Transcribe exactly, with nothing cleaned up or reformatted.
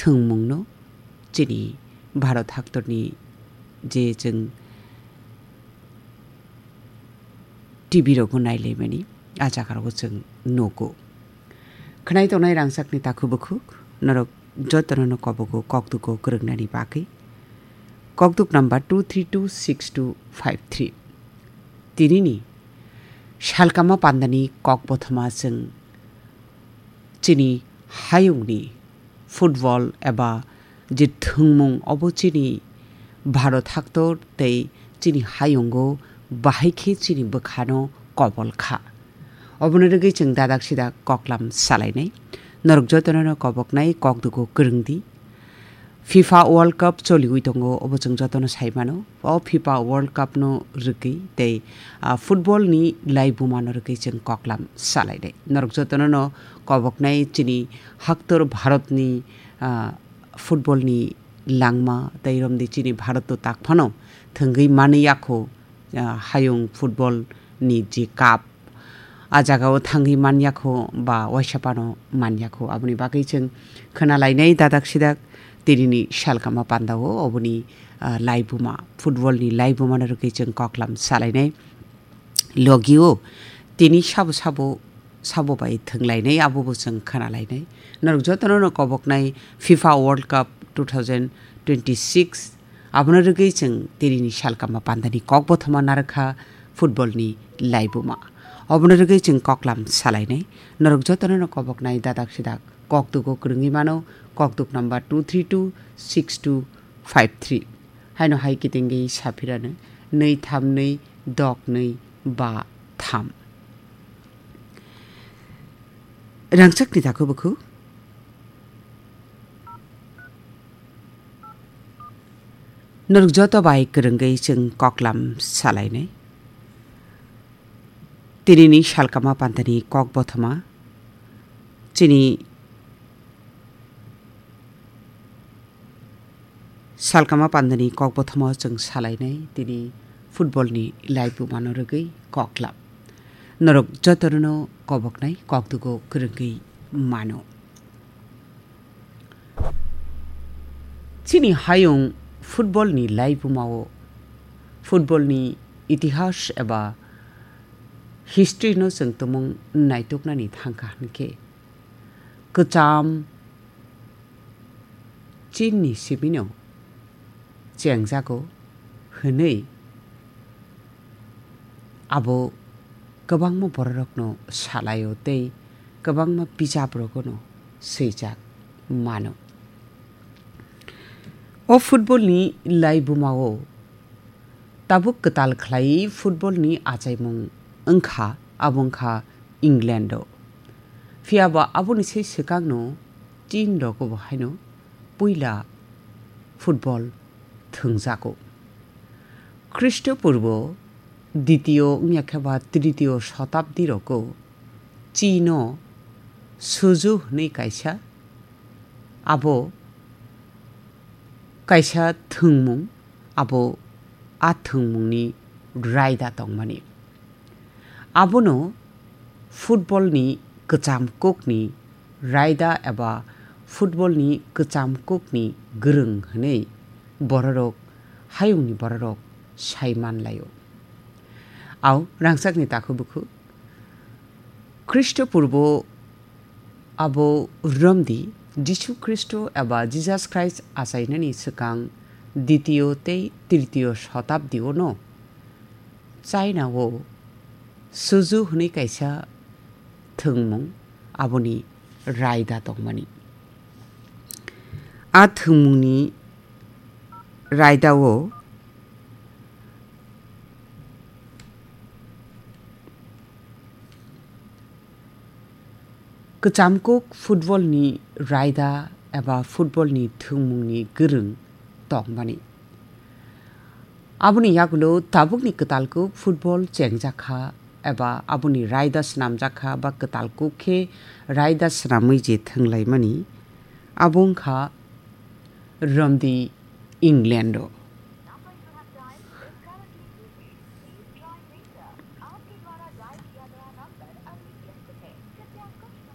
thwngmungno chini Bharat haktorni je chwng T V rogo nailaimani, a jagarogo chwng nugo. Khwnai tongnai rangchakni takhuk bukhuk, norok jotono no kobogo kokdugo kwrwngnani bagwi. Kokduk number two three two six two five three. Tinini salkama pandani kok bothoma chwng chini hayungni football eba je thwngmung obo chini Bharat haktor tei chini hayungo bahai khe chini bwkhano kobol kha. Oboni rwgwi chwng dadak sidak koklam salainai. Norok jotono no koboknai kokdugo kwrwng di. FIFA World Cup choliwi tongo, obo chwng jotono sai mano. O FIFA World Cup no rwgwi tei, ah, football ni laibuma no rwgwi chwng koklam salainai. Norok jotono no koboknai chini haktor Bharat ni, ah, football ni langma tei romdi chini Bharat o tak phano thwngwi manwi yakho, ah, hayung football ni je cup, a jagao thangwi manyakho ba waisa phano manyakho. Aboni bagwi chwng khwnalainai dadak sidak tinini salkama pandao oboni, ah, laibuma, football ni laibuma no rwgwi chwng koklam salainai. Logio tini sabo sabo, sabo bai thwnglainai, abobo chwng khwnalainai. Norok jotono no koboknai FIFA World Cup two thousand twenty-six, abono rwgwi chwng tinini salkama pandani kok bothoma narwkha football ni laibuma. Obono rwgwi chwng koklam salainai. Norok jotono no koboknai dadak sidak kokdugo kwrwngwi mano, kokduk number two three two six two five three. Haino hai kitingwi saphirano nwi tham nwi dok nwi ba tham. Rangchakni takhuk bukhuk. Norok joto bai kwrwngwi chwng koklam salainai. Tinini salkama pandani kok bothoma. Chini salkama pandani kok bothoma chwng salainai. Tini football ni laibuma no rwgwi koklam. Norok jotono koboknai kokdugo kwrwngwi mano. Chini hayung football ni laibumao football ni itihas eba history no chwng tumung naituknani thangkha hinkhe kwcham chini simino chengjago hwnwi abo kwbangma bororokno salaio tei kwbangma bijaprogono swijak mano. O football ni laibumao tabuk kwtal khlai football ni achaimung wngkha, abo wngkha England o. Phiya ba aboni se swkangno chin rogo bo haino puila football thwngjago. Khristopurbo ditiyo wngya khe ba tritiyo sotabdi rogo chino suju hwnwi kaisa, abo kaisa thwngmung, abo a thwngmungni raida tongmani. Abono football ni kwcham kokni raida eba football ni kwcham kokni gwrwng hwnwi bororok, hayungni bororok sai manlaio. Au rangchakni takhuk bukhuk Khristopurbo abo romdi Jisu Khristo eba Jesus Christ achainani swkang ditiyo tei tritiyo sotabdi o no China o suju hwnwi kaisa thwngmung aboni raida tongmani. A thwngmungni raida o kwcham kuk football ni raida eba football ni thwngmung ni gwrwng tongmani. Aboni yagulo tabukni kwtal kuk football chengjakha eba aboni raida swnamjakha ba kwtal kuk khe raida swnamwi je thwnglaimani, abo wngkha romdi England o.